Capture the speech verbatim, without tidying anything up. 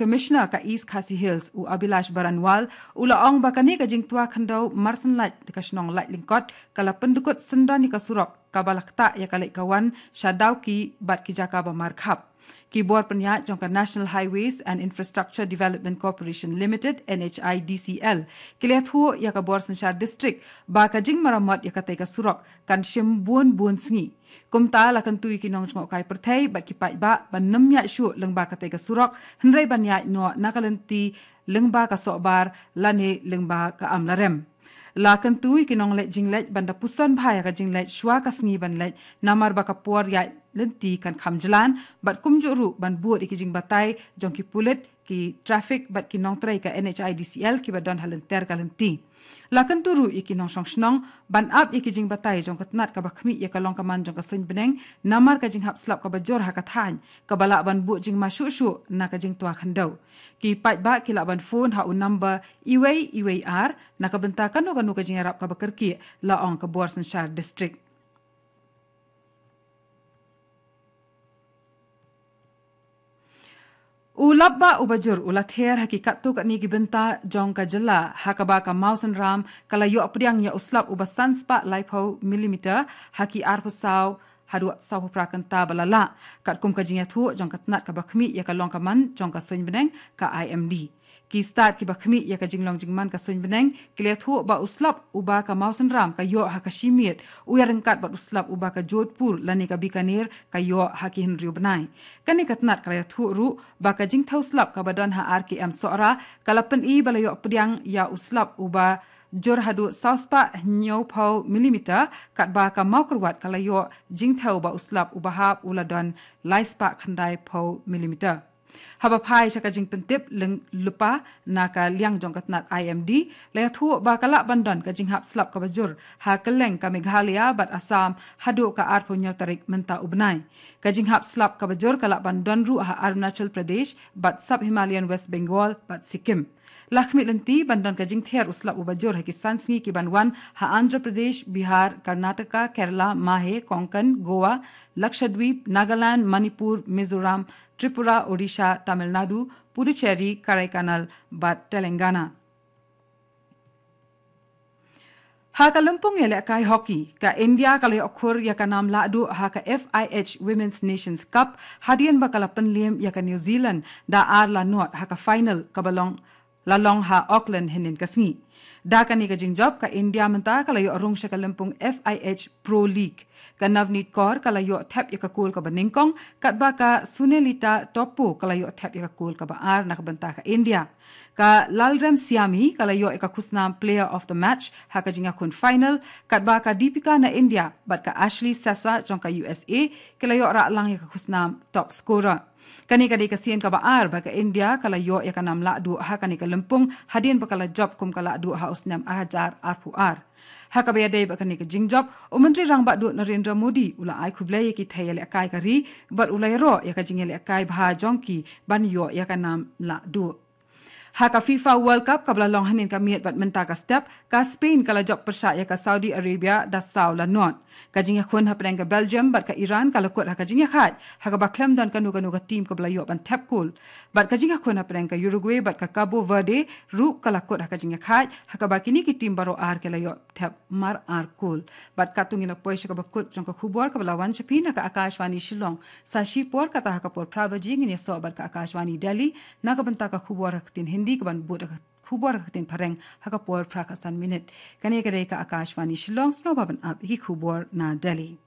Commissioner ka East Khasi Hills, u Abhilash Baranwal, u la ong ba kane ka jingtwa khyndew marsan lait ka shnong Laitlyngkot ka la pyndukut syndon ïa ka surok kaba la ktah ïa ka leit ka wan sha Dawki bad ki jaka ba markhap. Ki bor pynïaid jong ka National Highways and Infrastructure Development Corporation Limited, N H I D C L, ki la ïathuh ïa ka bor synshar district ba ka jingmaramot ïa katei ka surok kan shim bun bun sngi. Kumta la kyntu ïa ki nongjngohkai pyrthei bad ki paidbah ban nym ïaid shuh lyngba katei ka surok, hynrei ban ïaid noh na ka lynti lyngba ka sohbar lane lyngba ka amlarem. La kyntu ïa ki nongleit jingleit ban da puson bha ïa ka jingleit shuwa ka sngi ban leit, namar ba ka por ïaid lynti kan kham jlan, bad kumjuh ruh ban bud ïa ki jingbatai jong ki pulit, ki traffic bad ki nongtrei ka N H I D C L kiba don ha lynter ka lynti. La kyntu ruh ïa ki nongshong shnong ban ap ïa ki jingbatai jong ka tnat kaba khmih ïa ka long ka man jong ka suiñ bneng, namar ka jinghap slap kaba jur ha ka thaiñ kaba lah ban buh jingma shuh shuh na ka jingtwa khyndew. Ki paidbah ki lah ban phone ha u number uwei uwei ar na ka bynta kano kano ka jingïarap kaba kyrkieh, la ong ka bor synshar district. U lapbah uba jur u la ther ha ki katto katne ki bynta jong ka jylla, ha kaba ka mawsynram ka la ïoh pdiang ïa u slap uba san spah laiphew millimeter ha ki arphew saw haduh sawphew phra kynta ba la lah, katkum ka jingïathuh jong ka tnat kaba khmih ïa ka long ka man jong ka suiñ bneng, ka I M D. Ki stad kiba khmih ïa ka jinglong jingman ka suiñ bneng ki la ïathuh ba u slap uba ka mawsynram ka ïoh ha ka shi miet u ïaryngkat bad u slap uba ka Jodhpur lane ka Bikaner ka ïoh ha ki hynriew bnai. Kane ka tnat ka la ïathuh ruh ba ka jingthew slap kaba don ha R K M Sohra ka la pyni ba la ïoh pdiang ïa u slap uba jur haduh saw spah hynñiewphew millimeter, katba ka Mawkyrwat ka la ïoh jingthew ba u slap uba hap u la don lai spah khyndaiphew millimeter. Haba phai sha ka jingpyntip lyngba na ka liang jong ka tnat I M D, la ïathuh ba ka lah ban don ka jinghap slap kaba jur ha kylleng ka Meghalaya bad Assam haduh ka arphew hynñiew tarik mynta u bnai. Ka jinghap slap kaba jur ka lah ban don ruh ha Arunachal Pradesh bad Sub-Himalayan West Bengal bad Sikkim. La khmih lynti ban don ka jingther u slap uba jur ha ki san sngi ki ban wan ha Andhra Pradesh, Bihar, Karnataka, Kerala, Mahe, Konkan, Goa, Lakshadweep, Nagaland, Manipur, Mizoram, Tripura, Odisha, Tamil Nadu, Puducherry, Kodaikanal bad Telangana. Ha ka lympung ïalehkai hockey, ka India ka la ïoh khur ïa ka nam lahduh ha ka F I H Women's Nations Cup hadien ba ka la pynliem ïa ka New Zealand da ar la nod ha ka final kaba long la long ha Auckland hynnin ka sngi. Da kane ka jingjop ka India mynta ka la ïoh rung sha ka lympung F I H Pro League. Ka Navneet Kaur ka la ïoh thep ïa ka kol kaba nyngkong, katba ka Sunelita Toppo ka la ïoh thep ïa ka kol kaba ar na ka bynta ka India. Ka Lalremsiami ka la ïoh ïa ka khusnam Player of the Match ha ka jingïakhun final, katba ka Deepika na India bad ka Ashley Sessa jong ka U S A ki la ïoh rah lang ïa ka khusnam Top Scorer. Kane ka dei ka sien kaba ar ba ka India ka la ïoh ïa ka nam lahduh ha kane ka lympung hadien ba ka la jop kum ka lahduh ha u snem ar hajar arphew ar. Ha kaba ïadei bad kane ka jingjop, u Myntri Rangbah Duh Narendra Modi u la ai khublei ïa ki thei ïalehkai ka ri bad u la ïaroh ïa ka jingïalehkai bha jong ki ban ïoh ïa ka nam lahduh. Ha ka FIFA World Cup kaba la long hynnin ka miet bad mynta ka step, ka Spain ka la jop pyrshah ïa ka Saudi Arabia da saw la nod. Ka jingïakhun hapdeng ka Belgium bad ka Iran ka la kut ha ka jingïakhaid, ha kaba khlem don kano kano ka tim kaba la ïoh ban thep kol. Bad ka jingïakhun hapdeng ka Uruguay bad ka Cabo Verde ruh ka la kut ha ka jingïakhaid, ha kaba kine ki tim baroh ar ki la ïoh thep mar ar kol. Bad katto ngi la poi sha kaba kut jong ka khubor kaba la wan sha phi na ka Akashvani Shillong. Sa shi por kata ha ka por phra baje ngin ïasoh bad ka Akashvani Delhi na ka bynta ka khubor ha ka ktien Hindi kaban bud ha ka khubor ha ka ktien Phareng ha ka por phra khatsan minit. Kane ka dei ka Akashvani Shillong, sngewbha ban ap ïa ki khubor na Delhi.